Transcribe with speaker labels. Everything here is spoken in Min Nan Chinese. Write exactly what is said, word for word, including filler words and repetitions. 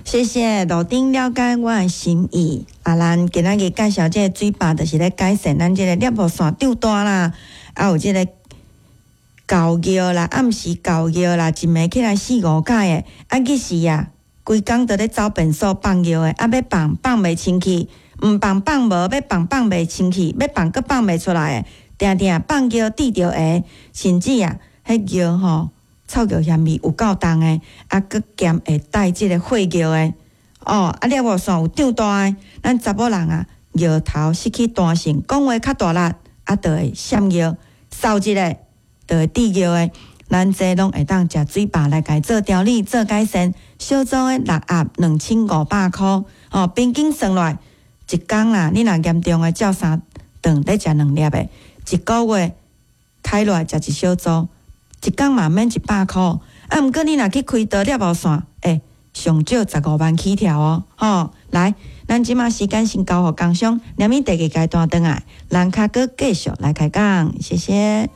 Speaker 1: 謝謝路頂了解我的心意。啊，咱今仔日介紹這個水壩，就是咧改善咱這個尿布腺長大啦，啊有這個厚尿啦，暗時厚尿啦，一暝起來四五擺的，啊，其實啊，規工都咧走便所放尿的，啊，欲放放袂清氣，毋放放無，欲放放袂清氣，欲放閣放袂出來的，定定放尿滴著鞋，甚至啊，彼尿吼，臭尿嫌味有夠重的，啊，閣兼會帶這個血尿的，哦，啊，尿布腺有長大的，咱查某人啊，尿頭失去彈性，講話較大力，啊，就會閃尿，掃一下就會滴尿的。咱這攏會當食水壩來共做調理、做改善。小組的六盒兩千五百箍，哦，平均算落來，一工啦，你若嚴重的照三頓咧食兩粒的，一個月開落來食一小組。一工嘛免一百箍，啊！毋過你若去開刀尿布線，欸，上少十五萬起跳哦，吼！來，咱這馬時間先交予工商，連咪第二階段轉來，咱較閣繼續來開講，謝謝。